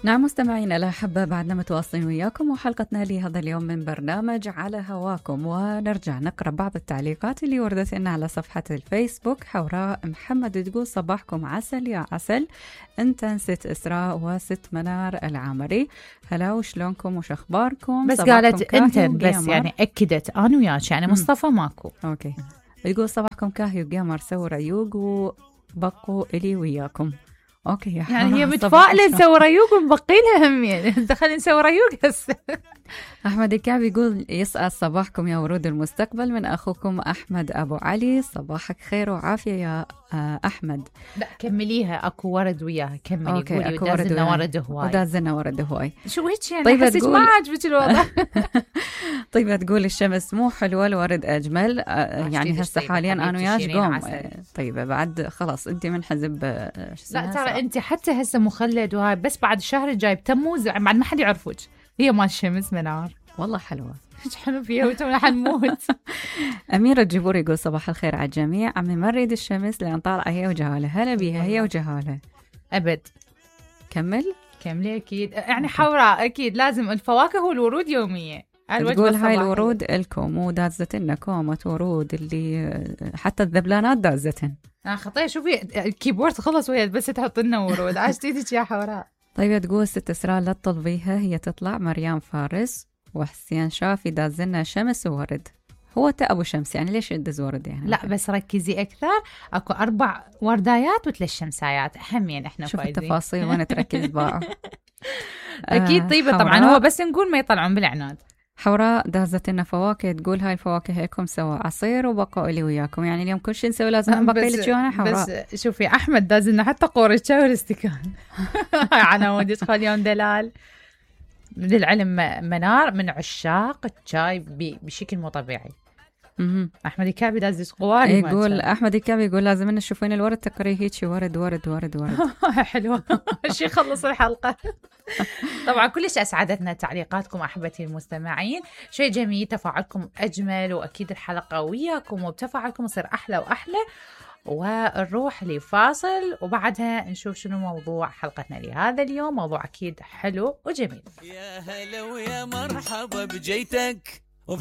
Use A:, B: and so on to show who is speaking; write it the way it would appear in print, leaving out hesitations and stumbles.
A: نعم مستمعينا الأحبة، بعدنا متواصلين وياكم وحلقتنا لهذا اليوم من برنامج على هواكم، ونرجع نقرأ بعض التعليقات اللي وردت لنا على صفحة الفيسبوك. حوراء محمد تقول صباحكم عسل يا عسل، انت ست إسراء وست منار العامري، هلا وشلونكم وش أخباركم؟
B: بس قالت انت بس يعني أكدت أنا وياك يعني مصطفى ماكو.
A: أوكي، تقول صباحكم كاهي وجيمر سووا ريوق وبقوا إلي وياكم. اوكي يا
B: يعني هي متفائله نسوي ريوق ونبقي لها هم، يعني دخلنا نسوي ريوق هسه.
A: احمد الكعب يقول يسعد صباحكم يا ورود المستقبل من اخوكم احمد ابو علي، صباحك خير وعافيه يا احمد.
B: لا كمليها، اكو ورد وياها، كملي قولي.
A: ودازلنا
B: ورد هواي،
A: ودازلنا ورد هواي.
B: شو هيك يعني؟
A: طيب
B: حسيت ما عجبك الوضع.
A: طيب تقول الشمس مو حلوه الورد اجمل. يعني هسه حاليا انا وياك قوم. طيب بعد خلاص انت منحزب.
B: لا ترى انت حتى هسه مخلد وهاي، بس بعد الشهر الجاي بتموز بعد ما حد يعرفك. هي مال الشمس منار
A: والله حلوه،
B: ايش حلو فيها وتونا حنموت.
A: أميرة الجبور يقول صباح الخير على الجميع، عمي ما نريد الشمس لأن طالعة هي وجهالة. هلا بيها هي وجهالة
B: أبد.
A: كملي
B: أكيد يعني حوراء أكيد لازم الفواكه والورود يومية.
A: تقول هاي الورود إلكم ودازتنا كومة ورود اللي حتى الذبلانات دازتن.
B: خطير، شوفي الكيبورد خلص وهي بس تحط لنا ورود. عاش ايدك يا حوراء.
A: طيب تقول ست إسراء لا تطلبيها هي تطلع. مريم فارس وحسين شافي دازلنا شمس وورد. هو أبو شمس يعني ليش يدز ورد يعني؟
B: لا بس ركزي أكثر، أكو 4 وردايات و3 شمسايات أهمين إحنا
A: شوف
B: فايزين.
A: التفاصيل وين تركز بقى.
B: أكيد طيبة طبعا، هو بس نقول ما يطلعون بالعناد.
A: حوراء دازت لنا فواكه، تقول هاي الفواكه هيكم سوا عصير وبقوا لي وياكم، يعني اليوم كل شيء نسوي لازم نبقي لك انا. حوراء
B: بس شوفي أحمد داز لنا حتى قورة شاي والاستكان. هاي عناودي تخليهم دلال. للعلم منار من عشاق الشاي بشكل مو طبيعي. احمد الكعبي داز قواري.
A: يقول احمد الكعبي يقول لازم ان تشوفين الورد تقري هيك ورد ورد ورد ورد.
B: حلوه. شي خلص الحلقه. طبعا كلش اسعدتنا تعليقاتكم احبتي المستمعين، شيء جميل، تفاعلكم اجمل، واكيد الحلقه وياكم وبتفاعلكم يصير احلى واحلى. ونروح لفاصل وبعدها نشوف شنو موضوع حلقتنا لهذا اليوم. موضوع أكيد حلو وجميل.
C: يا هلا ويا مرحبا بجيتك،